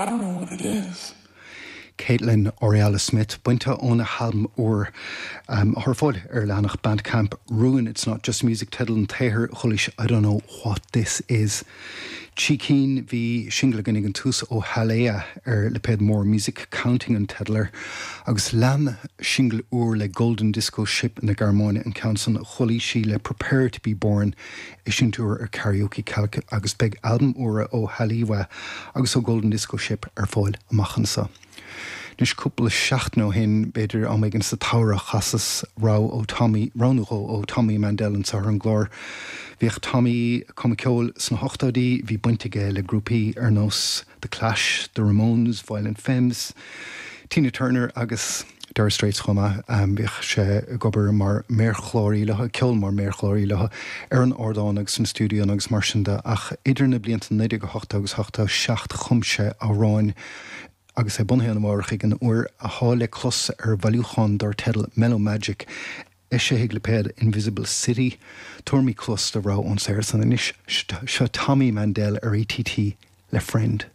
I don't know what it is. Kaitlyn Aurelia Smith, bainte óna halbam úr atá ar fáil ar leathanach Bandcamp, Ruin It's Not Just Music teideal an tsaothair chualaís I Don't Know What This Is. Trí cinn, bhí singil againn ag an tús ó Thalea ar lipéad More Music, Counting an teideal air, agus lean singil úr le Golden Disco Ship na Gearmáine an ceann san, chualaís í le Prepare To Be Born, eisiúint úr ar Karaoke Calc agus beidh albaim úra ó Haliwa agus ó Golden Disco Ship ar fáil amach anseo. Anois cúpla seachtain ó shin, b'fhéidir am éigin sa tsamhradh, chasas rogha ó Tommy, rogha nó dhó ó Tommy Mandel anseo ar an gclár. Bhíodh Tommy ag cumadh ceoil sna hochtóidí, bhí baint aige le grúpaí ar nós The Clash, The Ramones, Violent Femmes, Tina Turner agus Dire Straits chomh maith. Bhíodh sé ag obair mar mhéarchláraí leo, ag ceol mar mhéarchláraí leo ar an ardán agus sna stiúidíonna agus mar sin de. Ach idir na blianta 1980 agus 87 chum sé amhráin agus é bunaithe in Nua-Eabhrac ag an uair atá le clos ar bhailiúchán dar teideal Mellow Magic eisithe ag lipéad Invisible City. Tabharfaimid cluas do rogha ón saothar san anois. Seo Tommy Mandel ar ATT le Friend.